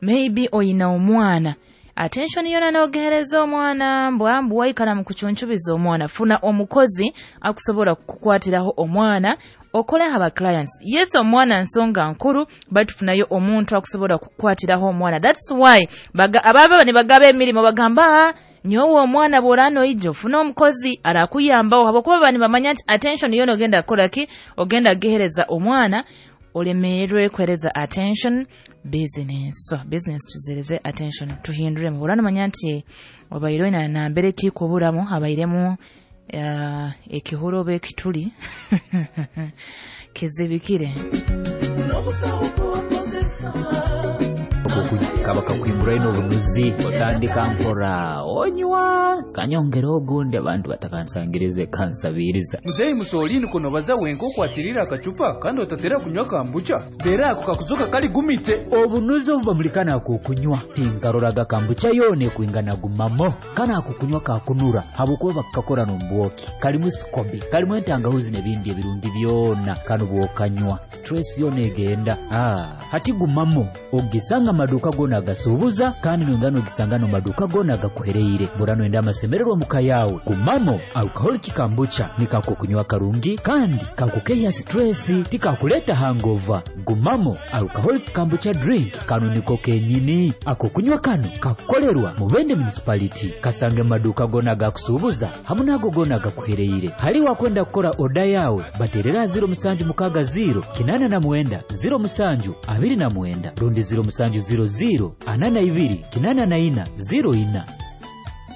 Maybe oyina omwana, attention yona nogehereza omwana, mbwambu waikara mu kucuncubiza omwana. Funa omukozi akusobora kukukwatiraho omwana, okoleho aba clients. Yes, omwana nsonga nkuru, baitu funayo omuntu akusobora kukukwatiraho omwana. That's why ababa nibagaba emirimo bagamba, nyowe omwana bw'orano ija ofuna omukozi arakuyambaho, habwokuba baba nibamanya nti attention yona ogenda kukora ki, ogenda kugihereza omwana, olemerwe kuhereza attention business. So business tuzereze attention, tuhinduremu. Bw'orano manya nti obaire oyina nambere kikuburamu, habairemu ekihuro oba ekituli kizibikire. Kaba kakwingura ino obunuzi, otandika nkora onywa kanyongera ogundi, abantu batakansangirize kansabiriza. Muzeyi Musolini kuno baza wenka okwatirira akacupa kandi otatera kunywa kambucha, dera ako kakuzoka kali gumite. Obunuzi obu bamulikana akukunywa tinkaroraga kambucha yone kwingana gumamo, kana akukunywa kakunura habwokuba bakakora n'ombwoki, kalimu sikobi, kalimu entangahuzi n'ebindi ebirungi byona, kano bwokanywa stress yona egenda. Hati gumamo ogisanga maduka gona agasubuza, kandi nongano ogisanga no maduka gona agakuhereire. Burano enda amasemererwa muka yawe. Gumamo alcoholic kambucha nikako kunywa karungi kandi kakukeya stress, tikakuleta hangover. Gumamo alcoholic kambucha drink kano niko kenyini. Ako kunywa kano kakukolerwa Mubende municipality, kasange maduka gona agakusubuza hamwe nago gona agakuhereire. Hali wakwenda kukora oda yawe baterera 076 089 07 29 rundi 07 00 42 84 04.